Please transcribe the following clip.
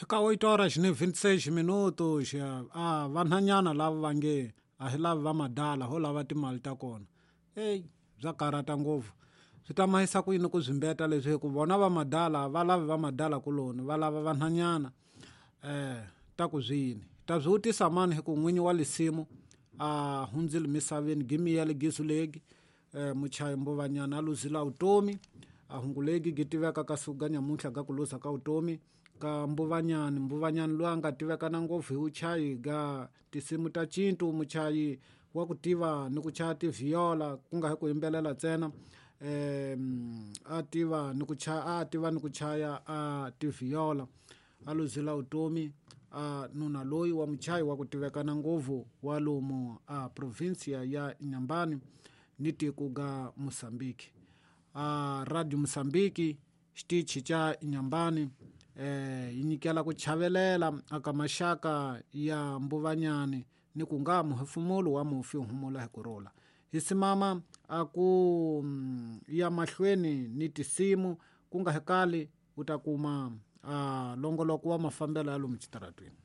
Eka 8 horas ni 26 minutos a vanhanyana lava va nge a hi lavi va madala ho lava timali ta kona eyi bya karhata ngopfu swi ta mahisa ku yini ku byi mbeta leswi hi ku vona va madala va lavi va madala kuloni va lava vanhanyana ta ku byi yini ta byi vutisa mani hi ku n'winyi wa lisimu a hundzile misaveni gimiyele gizulegi muchayi mbuvanyana a luzila vutomi a hungulegi gi tiveka ka siku ga nyamuntlha ga ku luza ka vutomi ka mbuvanyani mbuvanyani loyi a nga tiveka na ngopfu hi vuchayi ga tinsimu ta cintu muchayi wa ku tiva ni ku chaya tivhiyola ku nga hi ku yimbelela ntsena a tiva ni ku chaya a tiva ni ku chaya a tivhiyola a luzila vutomi a nuna loyi wa muchayi wa ku tivekana ngopfu wa lomu a provincia ya Inhambane ni tiko ga Mozambique a Radio Mozambique xitichi xa Inhambane yi nyikela ku chavelela aka maxaka ya Mbuvanyani ni ku nga muhefumulo wa mufi humula hi kurhula hi simama a ku ya mahlweni ni tisimu ku nga hekali u ta kuma a longoloko wa mafambelo ya lomu xitaratweni.